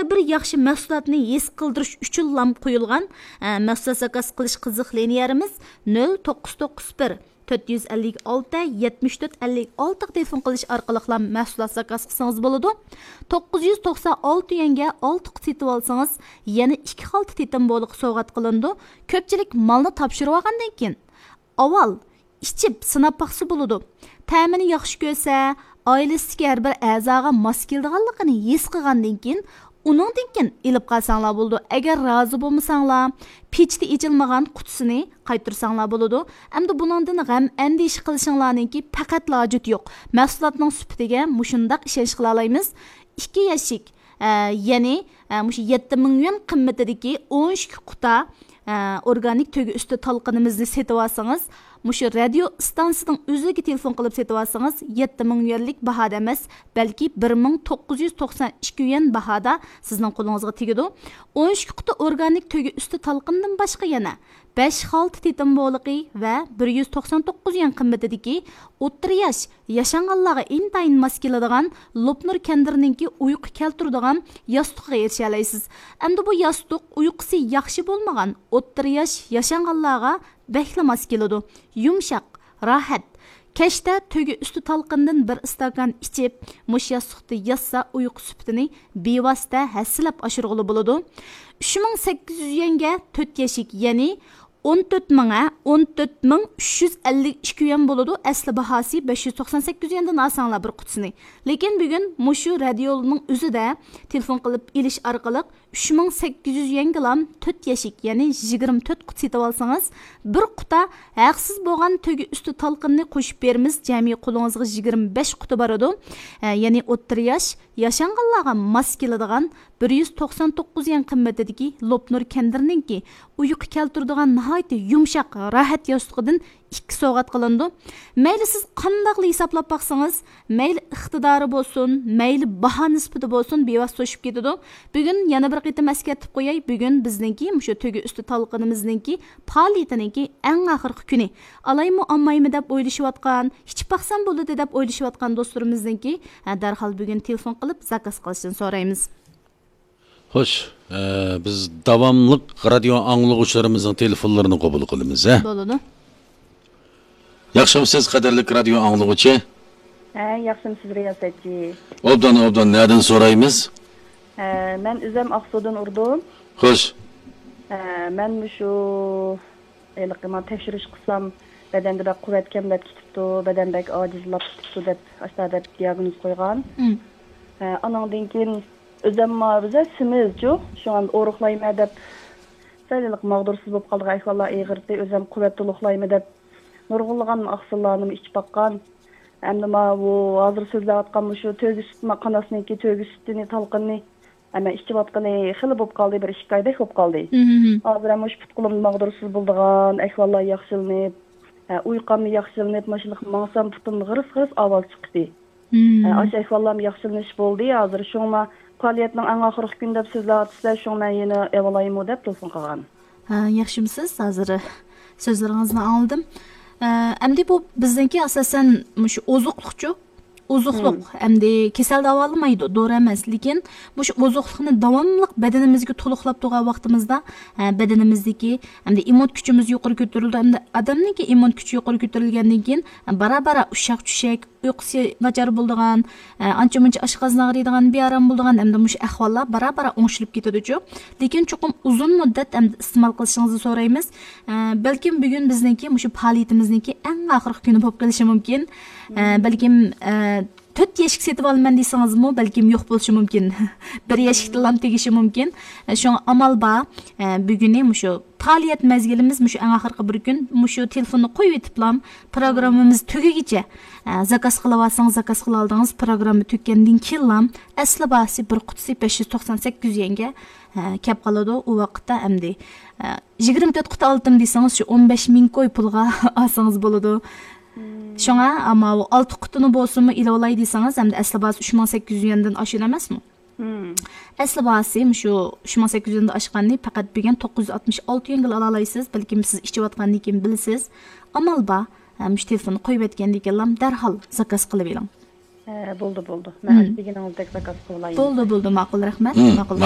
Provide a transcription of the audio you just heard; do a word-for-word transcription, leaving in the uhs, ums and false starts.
بىر ياخشى مەھسۇلاتنى ھېس قىلدۇرۇش ئۈچۈنلام قويۇلغان، ئە، مەھسۇلات زاكاز قىلىش قىزىق لىنىيەمىز نۆل توققۇز توققۇز بىر، تۆت يۈز ئەللىك ئالتە، يەتمىش تۆت ئەللىك ئالتىغا تېلېفون قىلىش ئارقىلىقلا مەھسۇلات زاكاز قىلسىڭىز بولىدۇ. توققۇز يۈز توقسان ئالتە يۈەنگە ئالتە قۇت سېتىۋالسىڭىز، يەنە ئىككى خالتا تېتىم بولىقى سوۋغات قىلىنىدۇ. كۆپچىلىك مالنى تاپشۇرۇۋالغاندىن كېيىن، ئاۋۋال ئىچىپ سىناپ باقسا بولىدۇ. تەمىنى ياخشى كۆرسە، ئائىلىسىدىكى ھەر بىر ئەزاغا ماس كېلىدىغانلىقىنى ھېس قىلغاندىن كېيىن، ئۇنىڭدىن كېيىن ئېلىپ قالساڭلار بولىدۇ. ئەگەر رازى بولمىساڭلار، پېچىتى ئېچىلمىغان قۇتىسىنى قايتۇرساڭلار بولىدۇ. ئەمدى بۇنىڭدىن غەم ئەندىشە قىلىشىڭلارنىڭكى پەقەتلا ھاجىتى يوق. مەھسۇلاتنىڭ سۈپىتىگە مۇشۇنداق ئىشەنچ قىلالايمىز. ئىككى يەشىك، ئە، يەنى، ئە، مۇشۇ يەتتە مىڭ يۈەن قىممىتىدىكى ئون ئىككى قۇتا، ئە، ئورگانىك تۆگە ئۈستى تالقىنىمىزنى سېتىۋالسىڭىز، مۇشۇ رادىيو ئىستانسىسىنىڭ ئۆزىگە تېلېفون قىلىپ سېتىۋالسىڭىز، يەتتە مىڭ يۈەنلىك باھادا ئەمەس، بەلكى بىر مىڭ توققۇز يۈز توقسان ئىككى يۈەن باھادا سىزنىڭ قولىڭىزغا تېگىدۇ. ئون ئىككى قۇتا ئورگانىك تۆگە ئۈستى تالقىندىن باشقا يەنە بەش خالتا تېتىم بولىقى ۋە بىر يۈز توقسان توققۇز يۈەن قىممىتىدىكى ئوتتۇرا ياش ياشانغانلارغا ئىنتايىن ماس كېلىدىغان لوپنۇر كەندىرنىڭكى ئۇيقۇ كەلتۈرىدىغان ياستۇقىغا ئېرىشەلەيسىز. ئەمدى بۇ ياستۇق ئۇيقۇسى ياخشى بولمىغان ئوتتۇرا ياش ياشانغانلارغا بەكلا ماس كېلىدۇ. يۇمشاق، راھەت. كەچتە تۆگە ئۈستى تالقىندىن بىر ئىستاكان ئىچىپ، مۇشۇ ياستۇقتا ياتسا، ئۇيقۇ سۈپىتىنى بىۋاسىتە ھەسسىلەپ ئاشۇرغىلى بولىدۇ. ئۈچ مىڭ سەككىز يۈز يۈەنگە تۆت يەشىك، يەنى ئون تۆت مىڭ، ئە، ئون تۆت مىڭ ئۈچ يۈز ئەللىك ئىككى يۈەن بولىدۇ. ئەسلى باھاسى بەش يۈز توقسان سەككىز يۈەندىن ئالساڭلار بىر قۇتىسىنى. لېكىن بۈگۈن مۇشۇ رادىيونىڭ ئۆزىدە تېلېفون قىلىپ ئېلىش ئارقىلىق ئۈچ مىڭ سەككىز يۈز يۈەنگىلام تۆت يەشىك، يەنى يىگىرمە تۆت قۇت سېتىۋالسىڭىز، بىر قۇتا ھەقسىز بولغان تۆگە ئۈستى تالقىننى قوشۇپ بېرىمىز. جەمئىي قولىڭىزغا يىگىرمە بەش قۇتا بارىدۇ. ئە، يەنى ئوتتۇرا ياش، ياشانغانلارغا ماس كېلىدىغان بىر يۈز توقسان توققۇز يۈەن قىممىتىدىكى لوپنۇر كەندىرنىڭكى ئۇيقۇ كەلتۈرىدىغان ناھايىتى يۇمشاق، راھەت ياستۇقىدىن ئىككى سوۋغات قىلىنىدۇ. مەيلى سىز قانداقلا ھېسابلاپ باقسىڭىز، مەيلى ئىقتىدارى بولسۇن، مەيلى باھا نىسبىتى بولسۇن، بىۋاسىتە توشۇپ كېتىدۇ. بۈگۈن يەنە بىر قېتىم ئەسكەرتىپ قوياي، بۈگۈن بىزنىڭكى مۇشۇ تۆگە ئۈستى تالقىنىمىزنىڭكى پائالىيىتىنىڭكى ئەڭ ئاخىرقى كۈنى. ئالايمۇ ئالمايمۇ دەپ ئويلىشىۋاتقان، ئىچىپ باقسام بولىدۇ دەپ ئويلىشىۋاتقان دوستلىرىمىزنىڭكى، ھە، دەرھال بۈگۈن تېلېفون قىلىپ زاكاز قىلىشىنى سورايمىز. خوش، ئە، بىز داۋاملىق رادىيو ئاڭلىغۇچىلىرىمىزنىڭ تېلېفونلىرىنى قوبۇل قىلىمىز، ھە؟ بولىدۇ. ياخشىمۇسىز، قەدىرلىك رادىيو ئاڭلىغۇچى؟ ھە، ياخشىمۇسىز، رىياسەتچى؟ ئوبدان، ئوبدان، نەدىن سورايمىز؟ ھە، مەن ئۆزۈم ئاقسۇدىن ئۇردۇم. خوش. ھە، مەن مۇشۇ ھېلىقى مانا تەكشۈرۈش قىلسام، بەدەندە بەك قۇۋۋەت كەملەپ كېتىپتۇ، بەدەن بەك ئاجىزلاپ كېتىپتۇ دەپ، ئاشۇنداق دەپ دىياگنوز قويغان. مم. ھە، ئانىڭدىن كېيىن ئۆزۈم مانا بىزە سېمىزچۇ، شۇڭا ئورۇقلايمەن دەپ، سەل ھېلىقى ماغدۇرسىز بولۇپ قالىدىغان ئەھۋاللار ئېغىرتى، ئۆزۈم قۇۋۋەت تولۇقلايمەن دەپ، نۇرغۇنلىغان ئاقسىللارنىمۇ ئىچىپ باققان. ئەمدى ماۋۇ ھازىر سۆزلەۋاتقان مۇشۇ تۆگە سۈت، ما-، قاناسنىڭكى تۆگە سۈتىنى، تالقىنىنى، ئەمما ئىچىۋاتقىنى خېلى بوپ قالدى، بىر ئىككى ئايدەك بوپ قالدى. مم. ھازىر ھەم مۇشۇ پۇت قولۇمدا ماغدۇرسىز بولىدىغان ئەھۋاللار ياخشىلىنىپ، ھە، ئۇيقۇممۇ ياخشىلىنىپ، ماشىنىلىق ماڭسام پۇتۇمدا غىرىس-غىرىس ئاۋاز چىقتى. مم. ھە، ئاشۇ ئەھۋاللارمۇ ياخشىلىنىش بولدى. ھازىر شۇڭا پائالىيەتنىڭ ئەڭ ئاخىرقى كۈنى دەپ سۆزلەۋاتىسىلەر، شۇڭا مەن يەنە ئېلىۋالايمۇ دەپ تېلېفون قىلغان. ھە، ياخشىمۇسىز؟ ھازىر سۆزلىرىڭىزنى ئاڭلىدىم. ئە، ئەمدى بۇ بىزنىڭكى ئاساسەن مۇشۇ ئوزۇقلۇقچۇ؟ ئوزۇقلۇق، مم. ئەمدى كېسەل داۋالىمايدۇ، دورا ئەمەس. لېكىن مۇشۇ ئوزۇقلۇقنى داۋاملىق بەدىنىمىزگە تولۇقلاپ تۇرغان ۋاقتىمىزدا، ئە، بەدىنىمىزدىكى ئەمدى ئىممۇن كۈچىمىز يۇقىرى كۆتۈرۈلىدۇ. ئەمدى ئادەمنىڭكى ئىممۇن كۈچى يۇقىرى كۆتۈرۈلگەندىن كېيىن، بارا-بارا ئۇششاق-چۈششەك، ئۇيقۇسى ناچار بولىدىغان، ئە، ئانچە-مۇنچە ئاشقازىنى ئاغرىيدىغان، بىئارام بولىدىغان، ئەمدى مۇشۇ ئەھۋاللار بارا-بارا ئوڭشىلىپ كېتىدۇچۇ. لېكىن چوقۇم ئۇزۇن مۇددەت ئەمدى ئىستېمال قىلىشىڭىزنى سورايمىز. ئە، بەلكىم بۈگۈن بىزنىڭكى مۇشۇ پائالىيىتىمىزنىڭكى ئەڭ ئاخىرقى كۈنى بولۇپ قېلىشى مۇمكىن. ئە، مم. بەلكىم، ئە، تۆت يەشىك سېتىپ ئالىمەن دېسىڭىزمۇ، بەلكىم يوق بولۇشى مۇمكىن. بىر يەشىكتىنلام تېگىشى مۇمكىن. ئە، شۇڭا ئامال بار. ئە، بۈگۈنى مۇشۇ پائالىيەت مەزگىلىمىز مۇشۇ ئەڭ ئاخىرقى بىر كۈن، مۇشۇ تېلېفوننى قويۇۋېتىپلام، پروگراممىمىز تۈگىگىچە، ئە، زاكاز قىلىۋالسىڭىز، زاكاز قىلالدىڭىز، پروگرامما تۈگىگەندىن كېيىنلام، ئەسلى باھاسى بىر قۇتىسى بەش يۈز توقسان سەككىز يۈەنگە، ئە، كەپ قالىدۇ. ئۇ ۋاقىتتا ئەمدى، ئە، يىگىرمە تۆت قۇتا ئالدىم دېسىڭىز، شۇ ئون بەش مىڭ كوي پۇلغا ئالسىڭىز بولىدۇ. مم. شۇڭا، ئەمما ئۇ ئالتە قۇتىنى بولسىمۇ ئېلىۋالاي دېسىڭىز، ئەمدى ئەسلى باھاسى ئۈچ مىڭ سەككىز يۈز يۈەندىن ئاشىدۇ ئەمەسمۇ؟ مم. ئەسلى باھاسى مۇشۇ ئۈچ مىڭ سەككىز يۈز يۈەندىن ئاشقاننى پەقەت بۈگۈن توققۇز يۈز ئاتمىش ئالتە يۈەنگىلا ئالالايسىز. بەلكىم سىز ئىچىۋاتقاندىن كېيىن بىلىسىز. ئامال بار، ھە، مۇشۇ تېلېفوننى قويۇۋەتكەندىن كېيىنلا دەرھال زاكاز قىلىۋېلىڭ. ھە، بولدى، بولدى. مەن مم. ئاشۇ دېگىنىڭىزدەك زاكاز قىلىۋالايمەن. بولدى، بولدى، ماقۇل، رەھمەت. مم، ماقۇل، ماقۇل،